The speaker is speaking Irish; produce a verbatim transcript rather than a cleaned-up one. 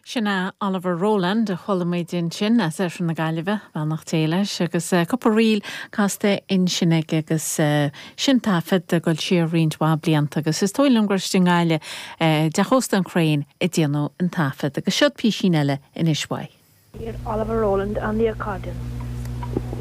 Sin é Oliver Rowland a chuala muid ansin as Oirthear na Gaillimhe, beannacht Dé leis, agus cúpla ríl casta ansin aige agus sin taifead ag dul siar roinnt mhaith blianta agus is dóigh liom gur i nGaillimh i dteach ósta an Crane a déanadh an taifead agus seo písín eile anois uaidh. Oliver Rowland on the accordion.